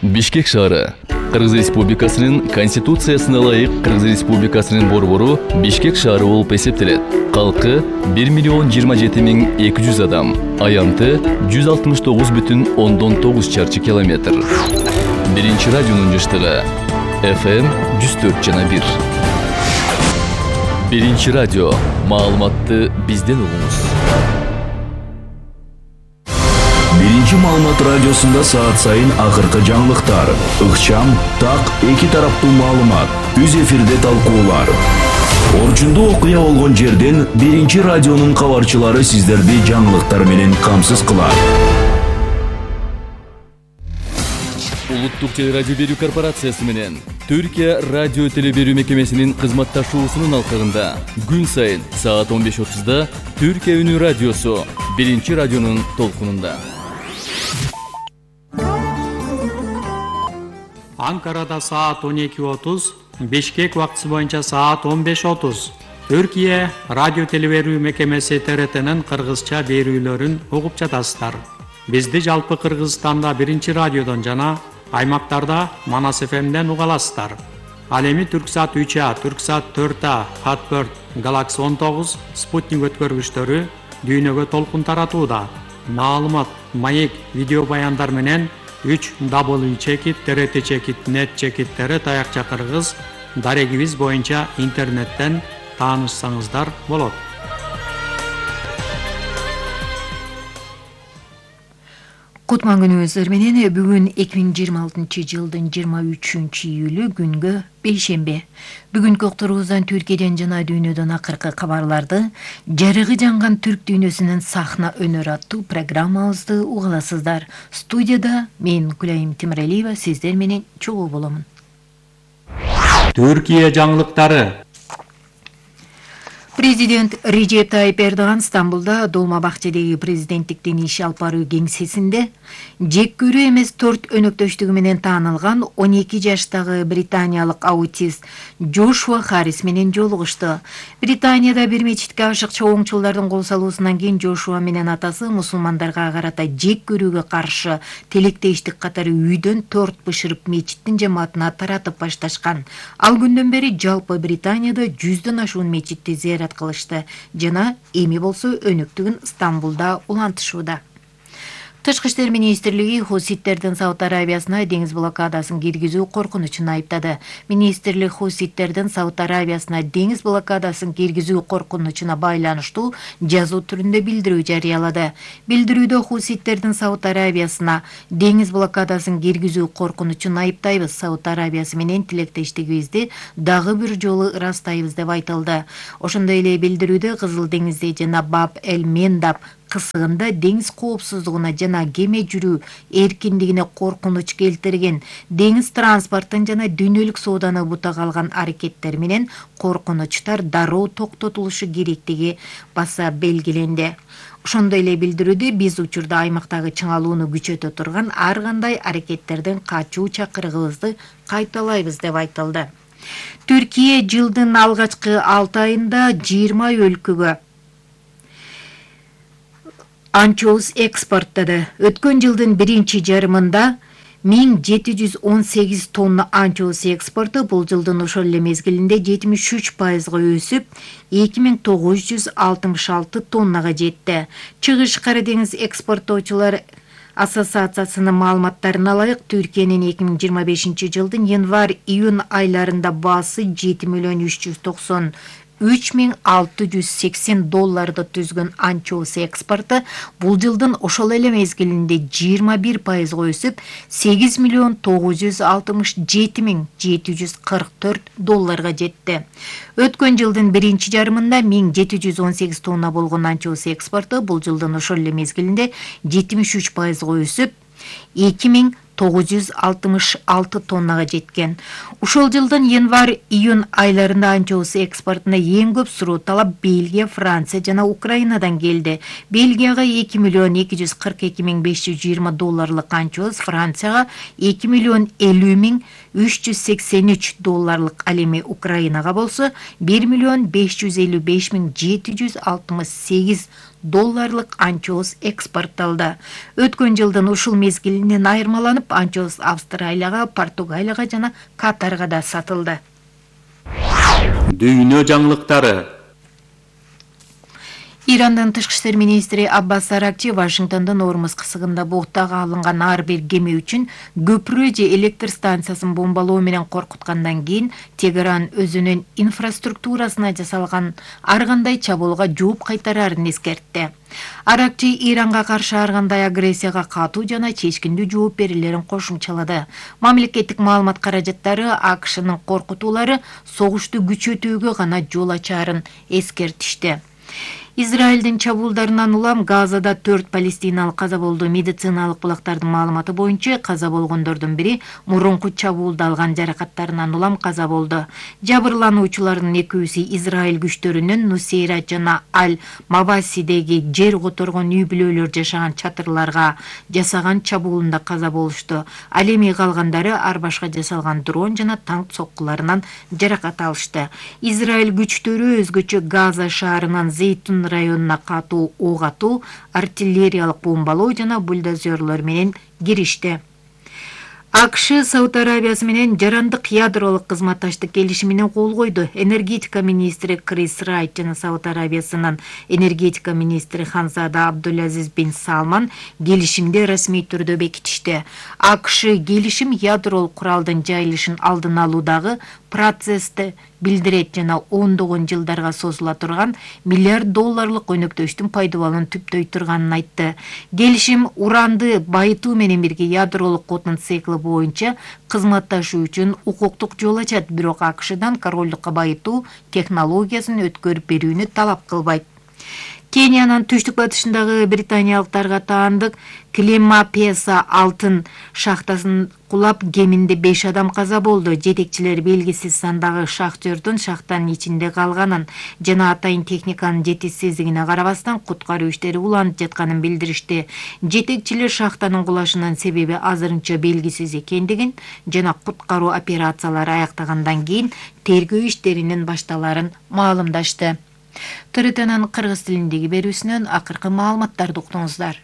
Бишкек шаары. Кыргыз Республикасынын Конституциясына ылайык Кыргыз Республикасынын борбору Бишкек шаары болуп эсептелет. Калкы 1,27,200 адам. Аянты 169,9 чарчы километр. Биринчи радионун жыштыгы FM 104,1. Биринчи радио. Маалыматты бизден угуңуз. Биринчи маалымат радиосунда саат сайын акыркы жаңылыктар, ыкчам, так, эки тараптуу маалымат, үз эфирде талкуулар. Орчундуу окуя болгон жерден биринчи радионун кабарчылары сиздерди жаңылыктар менен камсыз кылат. Улуттук телерадио берүү корпорациясы менен Түркия радио теле берүү мекемесинин кызматташуусунун алкагында күн сайын саат 15:30 Түркия үнү радиосу биринчи радионун толкунунда. Анкарада саат 12:30, Бишкек убактысы боюнча саат 15:30. Түркия радио телеберүү мекемеси ТРТнын кыргызча берүүлөрүн угуп жатасыздар. Бизди жалпы Кыргызстанда биринчи радиодон жана аймактарда Манас ФМден уга аласыздар. Ал эми Түрксат 3А, Түрксат 4А, Хатберт, Galaxy 19, Спутник өткөргүчтөрү дүйнөгө толкун таратууда. Маалымат, маек, видео баяндар менен 3w.trt.net/tr таякча кыргыз дарегибиз боюнча интернеттен таанышсаңыздар болот. Кутман күнүңүздөр менен бүгүн 2026 жылдын 23 июлү күнгө бейшембе. Бүгүнкү уктуруубуздан Түркияден жана дүйнөдөн акыркы кабарларды, жарыгы жанган түрк дүйнөсүнүн сахна өнөр аттуу программабызды угаласыздар. Студияда мен Гүлайым Темиралиева сиздер менен чогуу боломун. Түркия жаңылыктары. Президент Режеп Тайип Эрдоган Стамбулда Долма-Бакчадагы президенттиктин иш алып баруу кеңсесинде жек көрүү эмес торт өнөктөштүгү менен таанылган 12 жаштагы британиялык аутист Джошуа Харрис менен жолугушту. Британияда бир мечитке ашык чоңчулдардын кол салуусунан кийин Джошуа менен атасы мусулмандарга карата жек көрүүгө каршы тилектештик катары үйдөн торт бышырып мечиттин жамаатына таратып башташкан. Ал күндөн бери жалпы Британияда 100дөн ашуун мечитти зыярат кылышты жана эми болсо өнөктүгүн Стамбулда улантышууда. Тышкы иштер министрлиги хуситтердин Сауд Арабиясына деңиз блокадасын киргизүү коркунучун айыптады. Министрлик хуситтердин Сауд Арабиясына деңиз блокадасын киргизүү коркунучуна байланыштуу жазуу түрүндө билдирүү жарыялады. Билдирүүдө хуситтердин Сауд Арабиясына деңиз блокадасын киргизүү коркунучун айыптайбыз. Сауд Арабиясы менен тилектештигибизди дагы бир жолу ырастайбыз деп айтылды. Ошондой эле билдирүүдө Кызыл деңизде жана Баб-эль-Мендаб кысыгында деңиз коопсуздугуна жана кеме жүрүү эркиндигине коркунуч келтирген, деңиз транспортун жана дүйнөлүк сооданы бутага алган аракеттер менен коркунучтар дароо токтотулушу керектиги баса белгиленди. Ошондой эле билдирүүдө биз учурда аймактагы чыңалууну күчөтө турган ар кандай аракеттерден качуу чакырыгыбызды кайталайбыз деп айтылды. Түркия жылдын алгачкы 6 айында 20 өлкөгө анчоус экспорттады. Өткөн жылдын биринчи жарымында 1718 тонна анчоус экспорту бул жылдын ошол эле мезгилинде 73%га өсүп, 2966 тоннага жетти. Чыгыш Кара деңиз экспорттоочулар ассоциациясынын маалыматтарына ылайык Түркиянын 2025 жылдын январь-июнь айларында баасы 7.393.680 долларды түзгөн анчоус экспорту бул жылдын ошол эле мезгилинде 21%га өсүп, 8.967.744 долларга жетти. Өткөн жылдын биринчи жарымында 1718 тонна болгон анчоус экспорту бул жылдын ошол эле мезгилинде 73%га өсүп, 2966 тоннага жеткен. Ушул жылдын январь-июнь айларында анчоус экспортуна эң көп суроо талап Бельгия, Франция жана Украинадан келди. Бельгияга 2.242.520 долларлык анчоус, Францияга 2.050.383 долларлык, ал эми Украинага болсо 1.555.768 долларлык анчоус экспортталды. Өткөн жылдын ушул мезгилинен айырмаланып, анчоус Австралияга, Португалияга жана Катарга да сатылды. Дүйнө жаңылыктары. Ирандын тышкы иштер министри Аббас Аракчи Вашингтондун Ормуз кысыгында буктага алынган ар бир кеме үчүн көпүрө же электр станциясын бомбалоо менен коркуткандан кийин Тегеран өзүнүн инфраструктурасына жасалган ар кандай чабуулга жооп кайтарарын эскертти. Аракчи Иранга каршы ар кандай агрессияга катуу жана чечкиндүү жооп берилерин кошумчалады. Мамлекеттик маалымат каражаттары АКШнын коркутуулары согушту күчөтүүгө гана жол ачаарын эскертишти. Израилдин чабуулдарынан улам Газада 4 палестиналык каза болду. Медициналык булактардын маалыматы боюнча каза болгондордун бири мурунку чабуулда алган жаракаттарынан улам каза болду. Жабырлануучулардын экөөсү Израиль күчтөрүнүн Нусейра жана Аль-Мавасидеги жер которгон үй-бүлөлөр жашаган чатырларга жасаган чабуулунда каза болушту. Ал эми калгандары ар башка жасалган дрон жана танк соккуларынан жаракат алышты. Израиль күчтөрү өзгөчө Газа шаарынан Зейтун районуна катуу ок атуу, артиллериялык бомбалоо жана бульдозерлор менен киришти. АКШ Сауд Арабиясы менен жарандык ядролук кызматташтык келишимине кол койду. Энергетика министри Крис Райт жана Сауд Арабиясынын энергетика министри Ханзада Абдулазиз бин Салман келишимди расмий түрдө бекитишти. АКШ келишим ядролук куралдын жайылышын алдын алуудагы процессти билдирет жана ондогон жылдарга созула турган миллиард долларлык өнөктөштүн пайдаланууну түптөй турганын айтты. Келишим уранды байытуу менен бирге ядролук отун циклы боюнча кызматташуу үчүн укуктук жол ачат, бирок АКШдан королдукка байытуу технологиясын өткөрүп берүүнү талап кылбайт. Кениянын түштүк батышындагы британиялыктарга таандык Клемапеса алтын шахтасын кулап кеминде 5 адам каза болду. Жетекчилер белгисиз сандагы шахтёрдун шахтанын ичинде калганын жана атайын техниканын жетишсиздигине карабастан куткаруу иштери уланып жатканын билдиришти. Жетекчилер шахтанын кулашынын себеби азырынча белгисиз экендигин жана куткаруу операциялары аяктагандан кийин тергөө иштеринин башталарын маалымдашты. ТРТнын кыргыз тилиндеги берүүсүнөн акыркы маалыматтарды уктуңуздар.